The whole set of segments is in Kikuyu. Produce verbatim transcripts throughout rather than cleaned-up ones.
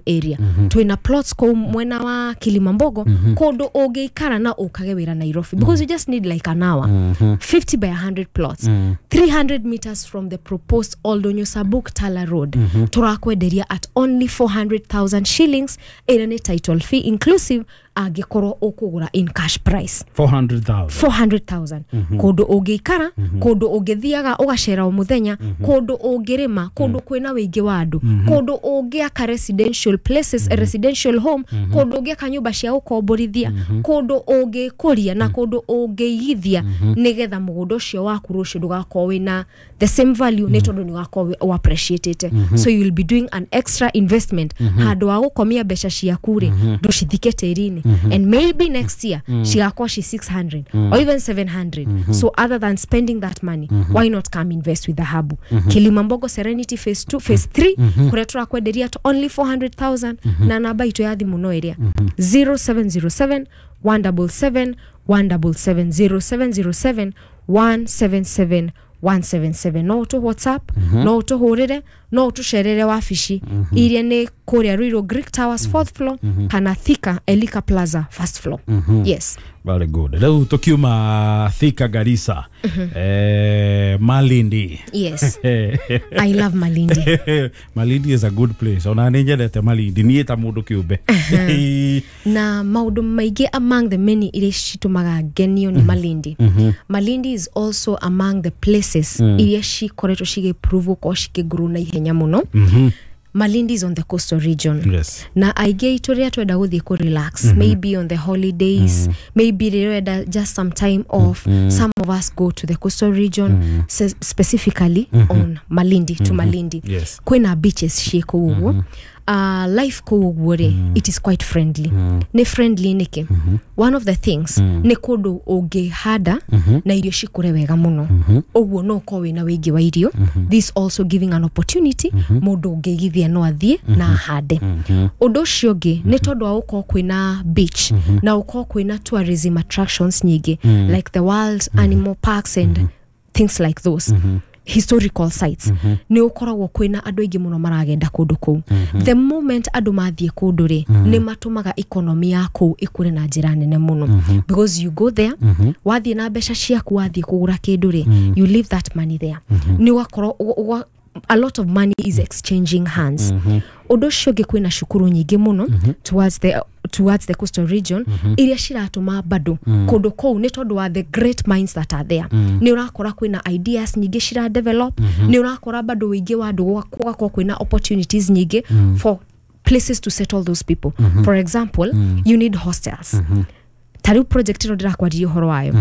Area. Twina plots kũu mwena wa Kilimambogo, kũndũ ũngĩikara na ũkage wĩra Nairobi, because you just need like an hour. fifty by one hundred plots, three hundred meters from the proposed Oldonyo Sabuk Tala Road, tũrakwenderia at only four hundred thousand shillings, ĩrĩa nĩ title fee inclusive, angĩkorwo ũkũgũra in cash price. four hundred thousand. four hundred thousand, kũndũ ũngĩikara, kũndũ ũngĩthiaga ũgacera o mũthenya, kũndũ ũngĩrĩma, kũndũ kwĩna wĩingĩ wa andũ, kũndũ ũngĩaka residential places, residential home, kũndũ ũngĩaka nyũmba cia gũkomborithia, kũndũ ũngĩkũria na kũndũ ũngĩigithia, nĩgetha mũgũnda ũcio waku rũciũ ndũgakorwo wĩna the same value, nĩ tondũ nĩ ũgakorwo wĩ appreciatĩte. So you will be doing an extra investment. Handũ wa gũkomia mbeca ciaku rĩ, ndũcithike tĩri-inĩ, and maybe next year cigakorwo ci six hundred or even seven hundred. So other than spending that money, why not come invest with Dhahabu Kilimambogo Serenity phase two, phase three, kũrĩa tũrakwenderia at only four hundred thousand? Na namba itũ ya thimũ no ĩrĩa zero seven zero seven one seven seven one seven seven, zero seven zero seven one seven seven one seven seven. No ũtũ WhatsApp, no ũtũhũrĩre, no ũtũcerere wabici iria nĩ kũrĩa Ruiru Greek Towers, fourth floor, kana Thika Elika Plaza, first floor. Yes. Very good. Rĩu tũkiuma Thika, Garissa, eh, Malindi. Yes, I love Malindi. Malindi is a good place. Ona nĩ nyendete Malindi niĩ ta mũndũ kĩũmbe. Na maũndũ maingĩ, among the many iria citũmaga ngenio nĩ Malindi, Malindi is also among the places iria cikoretwo cigĩprove gũkorwo cikĩgrow na ihenya mũno. Malindi is on the coastal region. Yes na aingĩ aitũ rĩrĩa twenda gũthiĩ kũ relax, maybe on the holidays, maybe rĩrĩa ũrenda just some time off, some of us go to the coastal region, se- specifically on Malindi, to Malindi. Yes. Kwĩna beaches ciĩ kũu ũguo. uh, life kũu ũguo rĩ, it is quite friendly. Nĩ friendly nĩkĩ? One of the things, nĩ kũndũ ũngĩhanda na irio cikũre wega mũno. Ũguo no ũkorwo wĩna wĩingĩ wa irio. This also giving an opportunity, mũndũ ũngĩigithia no athiĩ na ahande. Ũndũ ũcio ũngĩ, nĩ tondũ wa gũkorwo kwĩna beach na gũkorwo kwĩna tourism attractions nyingĩ, like the wild animal parks and things like those historical sites, nĩ ũkoragwo kwĩna andũ aingĩ mũno maragenda kũndũ kũu. The moment andũ mathiĩ kũndũ rĩ, nĩ matũmaga economy ya kũu ĩkũre na njĩra nene mũno, because you go there, wathiĩ na mbeca ciaku, wathiĩ kũgũra kĩndũ rĩ, you leave that money there, nĩ ũgakorwo ũga- ũga- a lot of money is exchanging hands. Ũndũ ũcio ũngĩ, kwĩna cukuru nyingĩ mũno towards the towards the coastal region, iria ciratũma bado kũndũ kũu, nĩ tondũ wa the great minds that are there, nĩ ũrakora kwĩna ideas nyingĩ cira develop, nĩ ũrakora bado wĩingĩ wa andũ, gũgakorwo kwĩna opportunities nyingĩ for places to settle those people. For example, you need hostels. Ta rĩu project ĩno ndĩrakwaririe ũhoro wayo,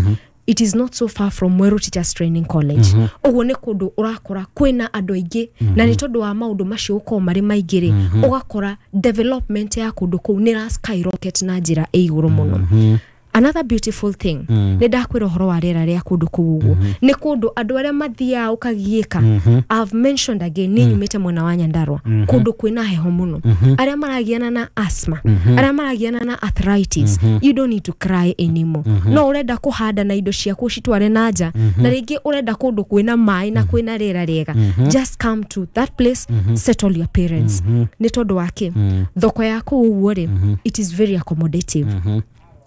it is not so far from Mweru Teachers Training College. Ũguo nĩ kũndũ ũrakora kwĩna andũ aingĩ, na nĩ tondũ wa maũndũ macio gũkorwo marĩ maingĩ rĩ, ũgakora development ya kũndũ kũu nĩ ra skyrocket na njĩra ĩ igũrũ mũno. Another beautiful thing, nĩ ndakwĩra ũhoro wa rĩera rĩa kũndũ kũu ũguo, nĩ kũndũ andũ arĩa mathiaga ũkagiĩka. I've mentioned again, nĩ nyumĩte mwena wa Nyandarua, kũndũ kwĩna heho mũno. Arĩa maragiana na asthma, arĩa maragiana na arthritis, you don't need to cry anymore. No ũrenda kũhanda na indo ciaku ũcitware na nja, na rĩngĩ ũrenda kũndũ kwĩna maĩ na kwĩna rĩera rĩega, just come to that place, settle your parents. Nĩ tondũ wa kĩ? Thoko ya kũu ũguo rĩ, it is very accommodative.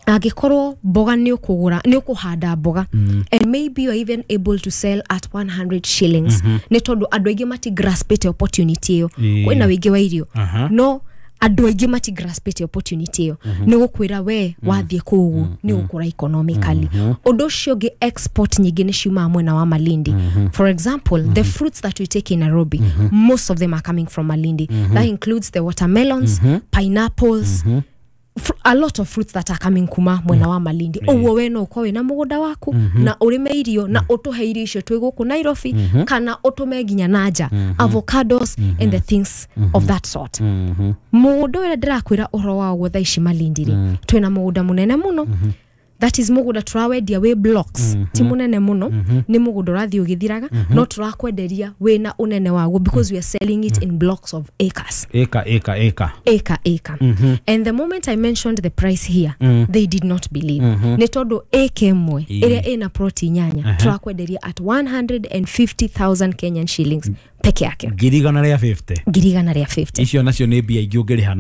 Angĩkorwo mboga nĩ ũkũgũra, nĩ ũkũhanda mboga, and maybe you are even able to sell at one hundred shillings, nĩ tondũ andũ aingĩ mati graspĩte opportunity ĩyo. Ĩĩ. Kwĩna wĩingĩ wa irio, Aha. no andũ aingĩ mati graspĩte opportunity ĩyo. Nĩ gũkwĩra we wathiĩ kũu ũguo nĩ ũgũkũra economically. Ũndũ ũcio ũngĩ, export nyingĩ nĩ ciumaga mwena wa Malindi. For example, the fruits that we take in Nairobi, most of them are coming from Malindi. That includes the watermelons, pineapples, fr- a lot of fruits that are coming kuma mwena wa Malindi. Ũguo we no ũkorwo wĩna mũgũnda waku na ũrĩme irio na ũtũhe irio icio twĩ gũkũ Nairobi, kana ũtũme nginya na nja, avocados and the things of that sort. Mũgũnda ũrĩa ndĩrakwĩra ũhoro waguo thaa ici Malindi rĩ, twĩna mũgũnda mũnene mũno. That is mũgũnda tũrawendia wĩ blocks, ti mũnene mũno, nĩ mũgũnda ũrathiĩ ũgĩthiraga, no tũrakwenderia wĩna ũnene waguo because we are selling it in blocks of acres. Ĩka ĩka ĩka. Acre, acre. And the moment I mentioned the price here, they did not believe, nĩ tondũ acre ĩmwe ĩrĩa ĩna plot inyanya tũrakwenderia at one hundred fifty thousand Kenyan shillings peke yake. Ngiri igana rĩa fifty. Ngiri igana rĩa fifty. Icio nacio nĩ mbia ingĩ ũngĩrĩha na